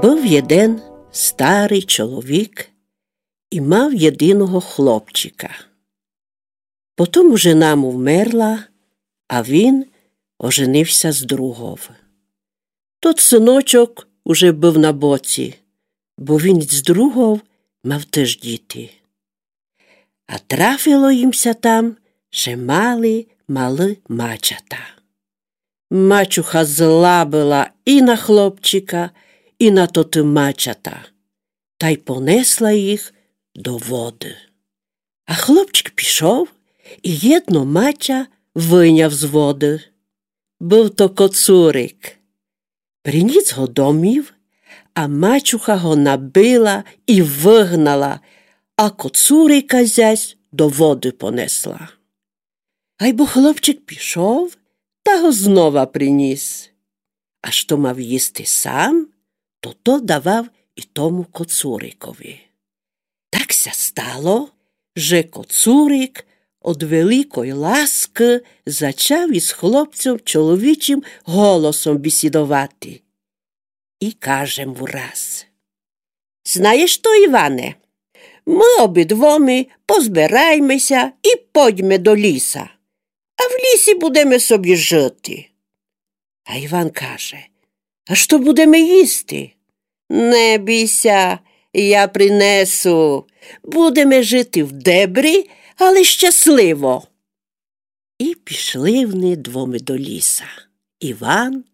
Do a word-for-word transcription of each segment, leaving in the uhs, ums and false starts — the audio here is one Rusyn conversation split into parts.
Быв єден старый чоловік і мав єдиного хлопчика. Потом жена му вмерла, а він оженив ся з другов. Тот сыночок уже быв на боці, бо він з другов мав тыж діти. А трафило їм ся там, же мали малы мачата. Мачуха зла была і на хлопчика, і на тоты мачата, тай понесла їх до воды. А хлопчик пішов і єдно мача выняв з воды. Быв то коцурик. Принїс го домів, а мачуха го набила і выгнала, а коцурика зась до воды понесла. Айбо хлопчик пішов, та го знова принїс. А што мав їсти сам, то то давав і тому коцурикови. Так ся стало, же коцурик од великой ласкы зачав из хлопцьом чоловічым голосом бісідовати. І каже му раз: Знаєш што, Іване, мы обидвома позбирайме ся і пойдьме до ліса, а в лісі будеме собі жыти. А Іван каже: А што будеме їсти? Не бій ся, я принесу. Будеме жыти в дебрі, але щасливо. І пішли вони двома до ліса, Іван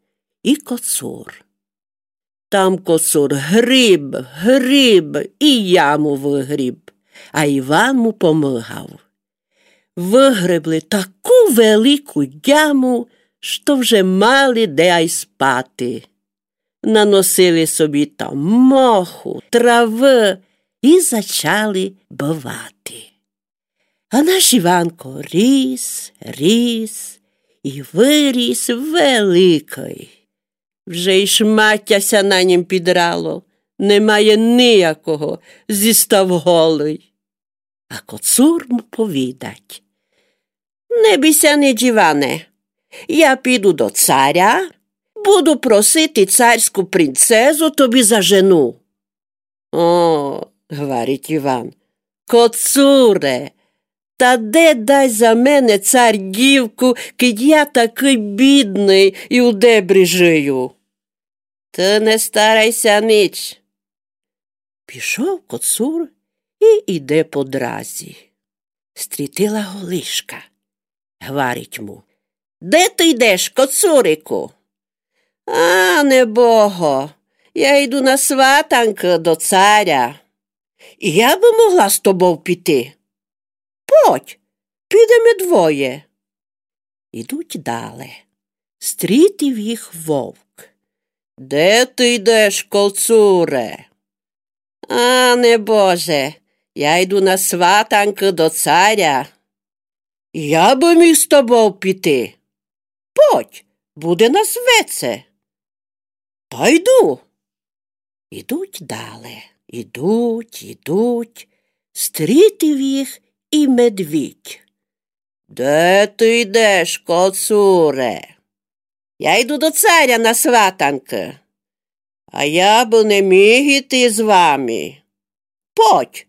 і коцур. Там коцур гріб, гріб і яму выгріб, а Іван му помыгав. Выгребли таку велику яму, што вже мали де ай спати. Наносили собі там моху, травы і зачали бывати. А наш Іванко ріс, ріс і выріс великый. Вже й шматя ся на нім підрало, не має ниякого, зістав голый. А коцур му повідать: Не бій ся нич, Іване, я піду до царя, буду просити царську принцезу тобі за жену. О, гварить Іван, коцуре, та де дасть за мене цар дівку, кидь я такый бідный і у дебрі жыю? Ты не старай ся нич. Пішов коцур і іде по дразі. Стрітила го лишка. Гварить му: Де ты йдеш, коцурику? А, небого, я йду на сватанкы до царя. І я бы могла з тобов піти. Подь, підеме двоє. Ідуть дале. Стрітив їх вовк. Де ты йдеш, коцуре? А, небоже, я йду на сватанкы до царя. Я бы міг з тобов піти. Подь, буде нас веце. Та йду. Ідуть дале, ідуть, ідуть. Стрітив їх і медвідь. Де ты йдеш, коцуре? Я йду до царя на сватанкы. А я бы не міг іти з вами. Подь,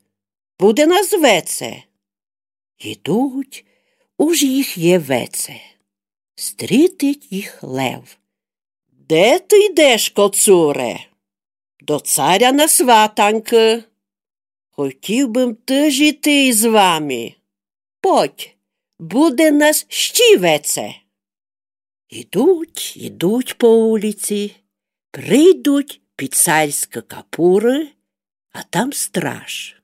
буде нас веце. Ідуть, уж їх є веце. Стрітить їх лев. Де ты йдеш, коцуре? До царя на сватанкы. Хотів бым тыж іти з вами. Подь, буде нас ще веце. Ідуть, ідуть по улици, прийдуть під царськы капуры, а там страж.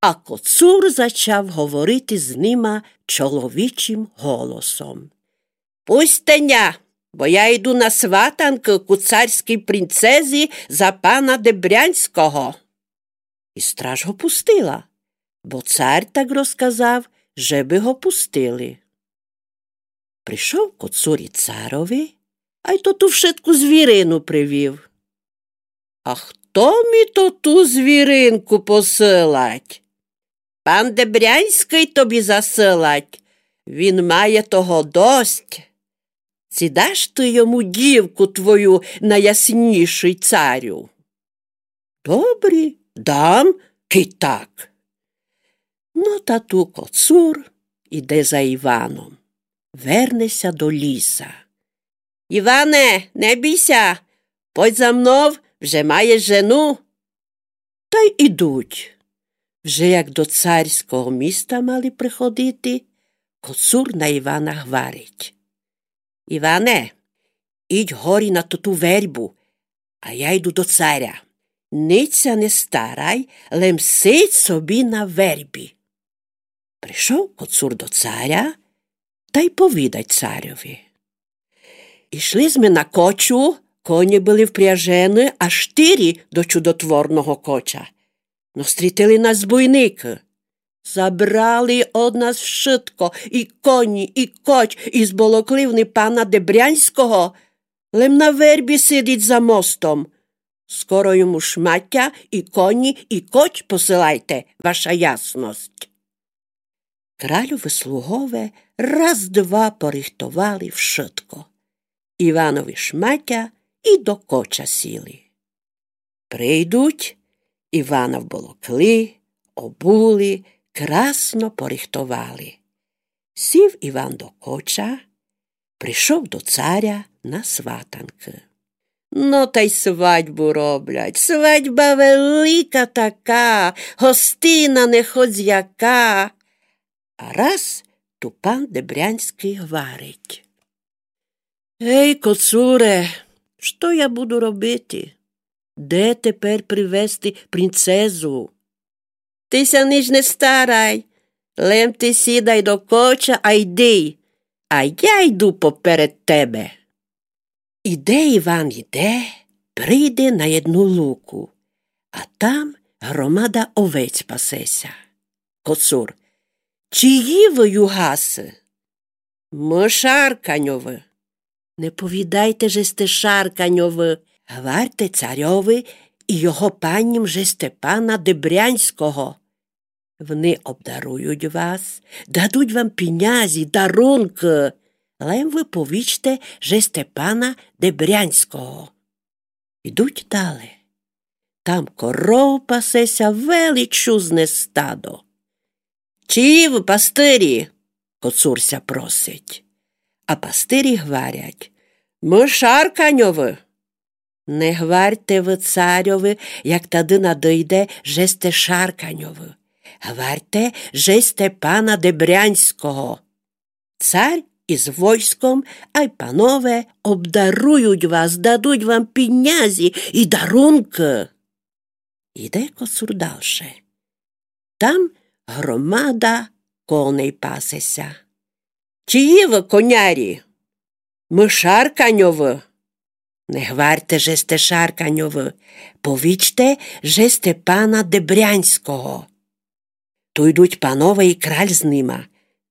А коцур зачав говорити з нима чоловічым голосом. Пустьте ня, бо я йду на сватанкы ку царській принцезі за пана Дебрянського. І страж го пустила, бо цар так розказав, жебы го пустили. Пришов коцур і царови, ай тоту вшытку звірину привів. А хто мі тоту звіринку посылать? Пан Дебрянськый тобі засылать, він має того дость. Ци даш ты йому дівку твою, найяснішый царю? Добрі, дам, кидь так. Но та ту Коцур іде за Іваном. Верне ся до ліса. Іване, не бій ся, подь за мнов, вже маєш жену. Та й ідуть. Вже як до царського міста мали приходити, Коцур на Івана гварить: Іване, ідь горі на тоту вербу, а я йду до царя. Ніч ся не старай, лем сидь собі на вербі. Пришов Коцур до царя та й повідать царьови: Ішли зме на кочу, коні были впряжены, аж штири до чудотворного коча. Но стрітили нас збойникы. Забрали од нас вшытко, і коні, і коч, і зболокли вони пана Дебрянського, лем на вербі сидить за мостом. Скоро йому шматя, і коні, і коч посылайте, ваша ясность. Кральови слугове раз-два порихтовали вшытко. Іванови шматя і до коча сіли. Прийдуть, Івана вболокли, обули, красно порихтовали. Сів Іван до коча, пришов до царя на сватанкы. Но та й свадьбу роблять, свадьба велика така, гостина не хоц яка. А раз ту пан Дебрянськый гварить: Гей, Коцуре, што я буду робити? Де тепер привести принцезу? Ты ся ніч не старай, лем ты сідай до коча, а йди, а я йду поперед тебе. Іде Іван, іде, прийде на єдну луку, а там громада овець пасе ся. Коцур: Чиї вы югасы? Мы Шарканьовы. Не повідайте, же сте Шарканьовы. Гварте царьови і його панім, же сте пана Дебрянського. Вони обдарують вас, дадуть вам пінязі, дарункы. Лем вы повічте, же сте пана Дебрянського. Ідуть дале. Там коров пасе ся величезне стадо. Чиї вы пастырі? Коцур ся просить. А пастырі гварять: Мы Шарканьовы. Не гварте вы царьови, як тады надыйде, же сте Шарканьовы. Гварте, же сте пана Дебрянського. Царь із войском, ай панове обдарують вас, дадуть вам пінязі і дарункы. Іде Коцур далше. Там громада коней пасе ся. Чиї вы конярі? Мы Шарканьовы. Не гварте, же сте Шарканьовы, повічте, же сте пана Дебрянського. Ту йдуть панове і краль з нима.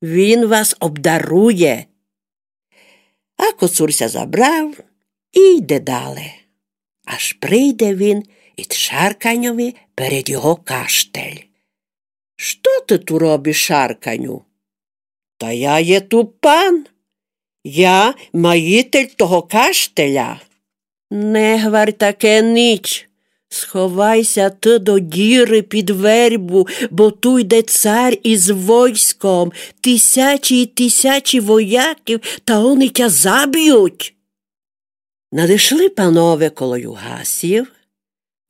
Він вас обдарує. А Коцур ся забрав і йде дале. Аж прийде він ід Шарканьови перед його каштель. Што ты ту робиш, Шарканю? Та я є ту пан. Я маїтель того каштеля. Не гварь таке ніч. Сховай ся ты до діры під вербу, бо ту йде цар із войском, тисячі і тисячі вояків, та они тя забють. Надышли панове коло югасів,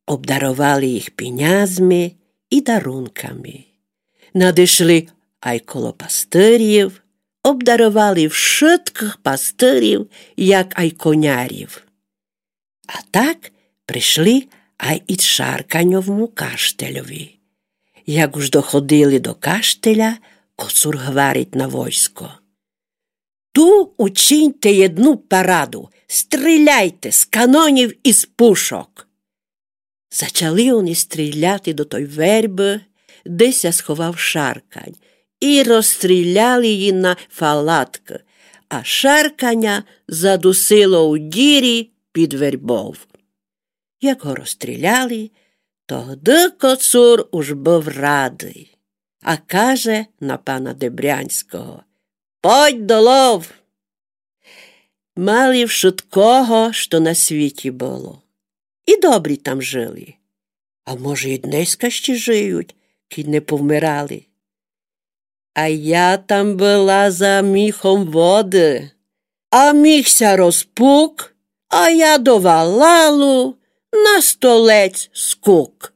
обдаровали їх пінязми і дарунками. Надышли ай коло пастырів, обдаровали вшыткых пастырів, як ай конярів. А так пришли ай ід Шарканьовму каштельови. Як уж доходили до каштеля, Коцур гварить на войско: Ту учиньте єдну параду, стріляйте з канонів і з пушок. Зачали они стріляти до той вербы, де ся сховав Шаркань, і розстріляли її на фалаткы, а Шарканя задусило у дірі під вербов. Як го розстріляли, тогды Коцур уж быв радый, а каже на пана Дебрянського: Подь долов! Мали вшыткого, што на світі было. І добрі там жыли. А може, і днеська ще жиють, кідь не повмирали. А я там была за міхом воды, а міх ся розпук, а я до валалу на столець скук.